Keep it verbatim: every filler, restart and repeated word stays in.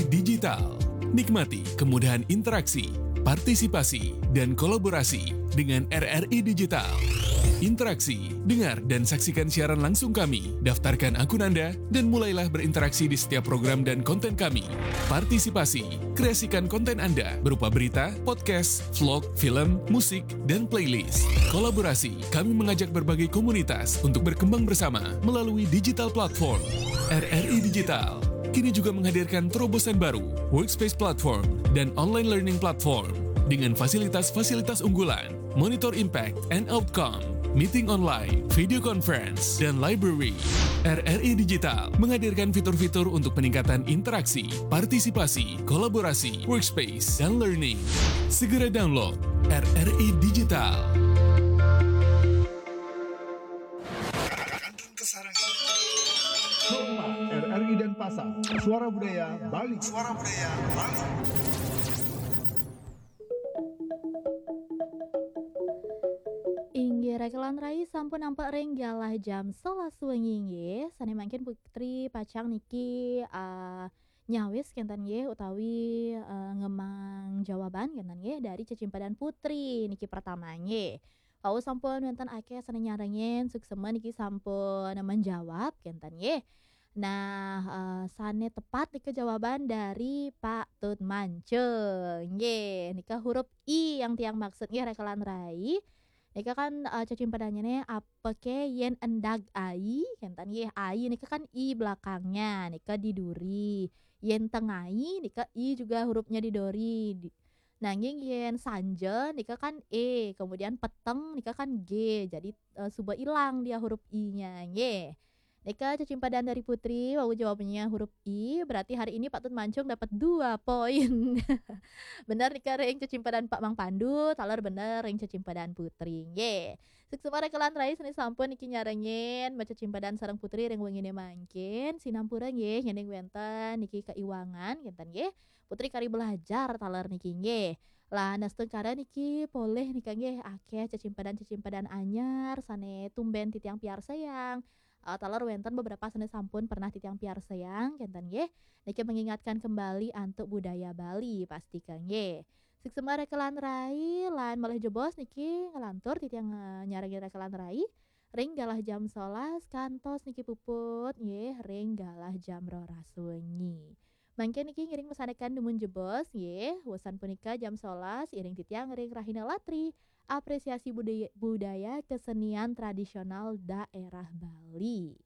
Digital. Nikmati kemudahan interaksi, partisipasi, dan kolaborasi dengan R R I Digital. Interaksi, dengar dan saksikan siaran langsung kami. Daftarkan akun Anda dan mulailah berinteraksi di setiap program dan konten kami. Partisipasi, kreasikan konten Anda berupa berita, podcast, vlog, film, musik, dan playlist. Kolaborasi, kami mengajak berbagai komunitas untuk berkembang bersama melalui digital platform. R R I Digital kini juga menghadirkan terobosan baru, Workspace Platform dan Online Learning Platform dengan fasilitas-fasilitas unggulan, monitor impact and outcome, meeting online, video conference, dan library. R R I Digital menghadirkan fitur-fitur untuk peningkatan interaksi, partisipasi, kolaborasi, workspace, dan learning. Segera download R R I Digital. Sobat R R I Denpasar, suara budaya Bali. Suara budaya Bali. Inggih, rekelan rai sampun nampak ring galah jam sebelas wengi nggih. Sane mangkin Putri pacang niki uh, nyawis kenten nggih utawi uh, ngemang jawaban kenten nggih dari cecimpadan Putri niki pertama nggih. Wau sampun wenten akeh sane nyarengin, suksema niki sampun menjawab kenten nggih. Nah, uh, sane tepat nika jawaban dari Pak Tut Mance. Nggih, nika huruf I yang tiang maksud nggih rekelan rai. Nika kan uh, cecimpadannya nih apa ke yen endag ai, kenten nggih ai nika kan I belakangnya, nika diduri. Yen tengai nika I juga hurufnya diduri. Di, nanging yen sanja nika kan E, kemudian peteng nika kan G. Jadi uh, suba hilang dia huruf I-nya nggih. Nika cecimpadan dari Putri, wau jawabnya huruf I, berarti hari ini Pak Tut Mancung dapat dua poin. Bener nika ring cecimpadan Pak Mang Pandu, taler bener ring cecimpadan Putri. Nggih. Suksema rekelan rai sane sampun niki nyarengin maca cecimpadan sareng Putri ring wengine mangkin. Sinampura nggih, yening wenten niki keiwangan kenten nggih. Putri kari belajar taler niki nggih. Lah, nastungkara niki polih nika nggih akeh cecimpadan-cecimpadan anyar sane tumben titiang piarsayang. Uh, taler wenten beberapa sane sampun pernah titiang piarsayang kenten nggih. Niki mengingatkan kembali antuk budaya Bali pastika nggih. Suksema rekelan rai lan malih jebos niki ngelantur titiang uh, nyarengin rekelan rai ring galah jam sebelas kantos niki puput nggih ring galah jam roras wengi. Mangkin niki ngiring pesanekan dumun jebos nggih. Wesan punika jam sebelas iring titiang ring Rahina Latri, apresiasi budaya, budaya kesenian tradisional daerah Bali.